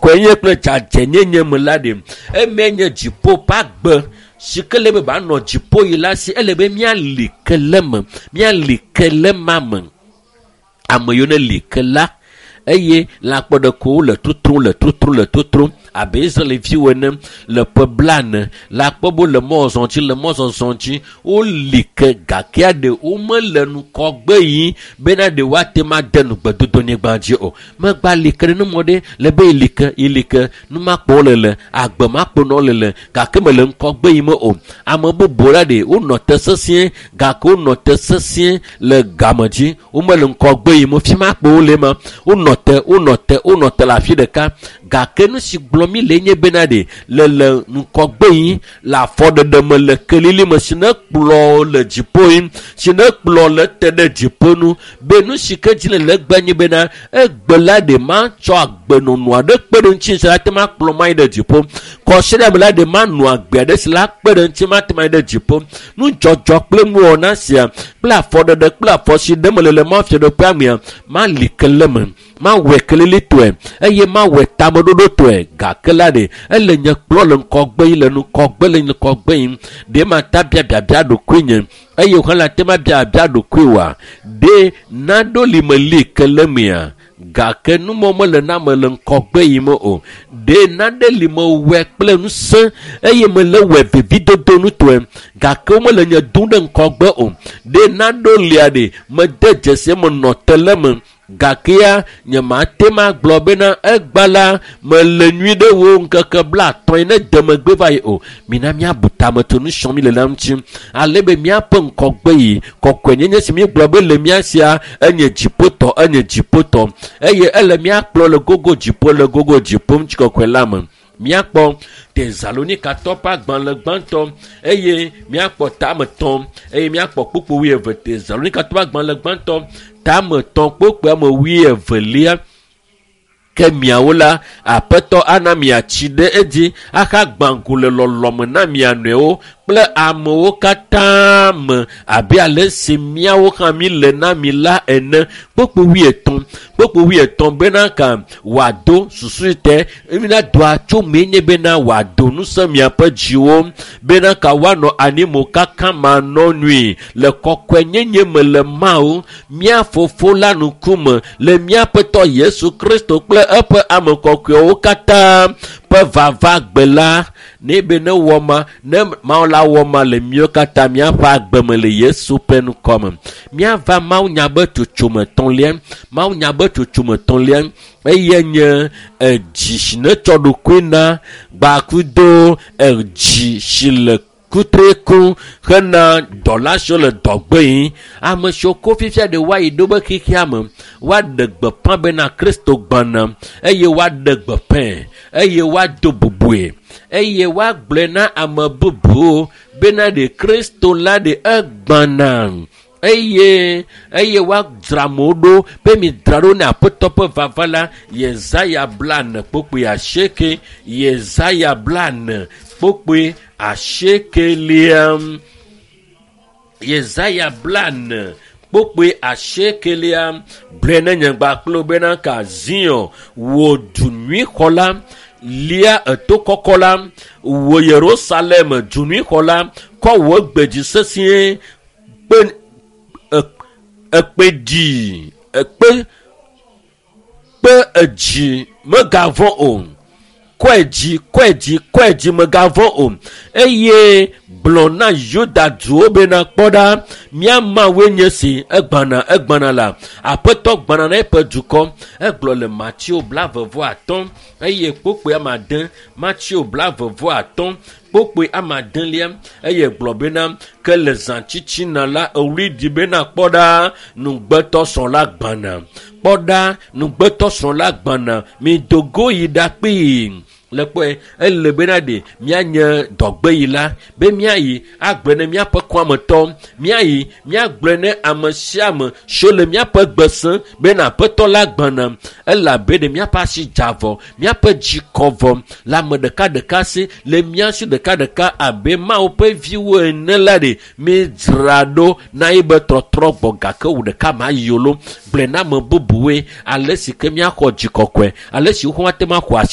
Kɔkɔenye kple dzadzɛnyenye me la ɖe eme nye dziƒo ƒe agbe si ke le be banɔ dziƒo yi la si ele be míali ke le me, míali ke le ma me. Ame yiwo ne li ke la eye lãkpɔɖekowo le totrom le totrom le totrom abe Israelviwo ene le ƒe blane le akpɔ be wole mɔzɔzɔ dzi le mɔzɔzɔ dzi woli ke gakea ɖe womele ŋgɔgbe yim bena ɖe woate ŋu ade nugbedodonyigba dzi o. Megba li ke ɖe mɔ ɖe le be yeli ke yeli ke numakpɔ wole le agbe makpɔ nɔ le le gake mele ŋgɔgbe yim o. Ame bubu la ɖe wonɔ te sesĩe gake wonɔ te sesĩe le game dzi womele ŋgɔgbe yim o. Fi ma kpo wole ma wonɔ te wonɔ te wonɔ te le afi ɖeka gake nu si gblɔm mi le nye bena ɖe le le ŋgɔgbe yim le afɔɖeɖe me le kelili me si ne kplɔ le dziƒo yim si ne kplɔ le te ɖe dziƒo nu be nu si ke dzi le le egbe nye bena egbe la ɖe matsɔ agbenɔnɔ aɖe kpe ɖe ŋuti si la te ma kplɔ ma yi ɖe dziƒo kɔsiɖe me la ɖe manɔ agbe aɖe si la kpe ɖe ŋuti ma te ma yi ɖe dziƒo nudzɔdzɔ kple nuwɔna sia kple afɔɖeɖe kple afɔ si ɖe me le le mɔfiaɖoƒea mea mali ke le me mawɔe kelilitɔe eye mawɔe tameɖoɖotɔe gake la ɖe ele nye kplɔ le ŋgɔgbe yi le ŋgɔgbe le ŋgɔgbe yim ɖe mata bia biabia ɖokuinye eye wòhã la te ma bia biabia ɖokuiwòa ɖe naɖo li meli ke le mea gake numɔ mele na me le ŋgɔgbe yim o ɖe naɖe li mewɔe kple ŋusẽ eye mele wɔe vevidodo nutɔe gake womele nye dum ɖe ŋgɔgbe o ɖe naɖo lia ɖe mede dzesi menɔ te le me gakea nyemate ma gblɔ bena egba la mele nyui ɖe wo ŋkeke 50 ne de megbe va yi o. Mina míabu tame tso nu srɔ̃m mi le la ŋuti ale be míaƒe ŋgɔgbe yi kɔkɔenyenye si míegblɔ be le mía sia enye dziƒotɔ enye dziƒotɔ eye ele míakplɔ le gogo dziƒo le gogo dziƒo ŋutikɔkɔe la me. Míakpɔ Tesalonikatɔ ƒe agbalẽ gbãtɔ eye míakpɔ tame 3 eye míakpɔ kpukpu 22. Tesalonikatɔ ƒe agbalẽ gbãtɔ tame 3 kpukpu ame 22. Ke miawo la, Aƒetɔ ana miatsi ɖe edzi ahagbã go le lɔlɔme na mia nɔewo kple amewo katã me abe ale si míawo hã mi le na mi la ene. Kpukpu 23 kpukpu 23 bena ka wòado susu te mina doa tso mee nye bena wòado ŋusẽ miaƒe dziwo bena ka woanɔ anyi kaka manɔ nui le kɔkɔenyenye me le Mawu mía fofo la ŋkume le míaƒetɔ Yesu Kristo kple eƒe ame kɔkɔewo katã ƒe vava gbe la ne be ne wɔ ma ne Mawu la wɔ ma le míawo katã míaƒe agbe me le Yesu ƒe ŋkɔ me. Míava Mawu nya be tsotsome 3 Mawu nya be tsotsome 3 eye nye edzi si ne tsɔ ɖokui na gbakudo edzi si le kutreku hena dɔla siwo le dɔgbe yi ame siwo ko fifia ɖe woayi ɖo be xexea me woaɖe gbeƒã bena Kristo gbɔna eye woaɖe gbeƒãe eye woado bubue eye woagblɔe na ame bubuwo bena ɖe Kristo la ɖe egbɔna eye eye woadzra amewo ɖo be midzra ɖo ne Aƒetɔ ƒe vava la. Yesaya 48 Yesaya 48 Yesaya 48 gblɔe ne nye gbakplo bena ka Zion wò du nyui xɔla lia eto kɔkɔ la wò Yerusalem du nyui xɔla kɔ wò gbe dzi sesĩe kpe ekpe dzi ekpe kpe edzi megavɔ̃ o kɔe dzi kɔe dzi kɔe dzi megavɔ̃ o eye gblɔ na Yuda duwo bena kpɔ ɖa mía Mawue nye si egbana egbana la Aƒetɔ gbana na eƒe dukɔ. Egblɔ le Mateo 25 eye kpukpui 9 Mateo 25 kpukpui 9 eye gblɔ bena ke le zãtsitsina la ewli ɖi bena kpɔ ɖa nugbetɔsrɔ̃ la gbana kpɔ ɖa nugbetɔsrɔ̃ la gbana mido go yi ɖa kpee le kpɔe ele bena ɖe míanye dɔgbe yi la be míayi agblɔe ne míaƒe kɔametɔ míayi míagblɔe ne ame sia ame siwo le míaƒe gbese bena Aƒetɔ la gbɔna elabe ɖe míaƒe asi dza vɔ míaƒe dzi kɔ vɔ le ame ɖekaɖeka si le mía si ɖekaɖeka abe Mawu ƒe viwo ene la ɖe mídzra ɖo na ye be trɔtrɔ gbɔ gake wò ɖeka ma yi o lo gblɔe na ame bubuwoe ale si ke míaxɔ dzi kɔkɔe ale si woate ŋu axɔ asi.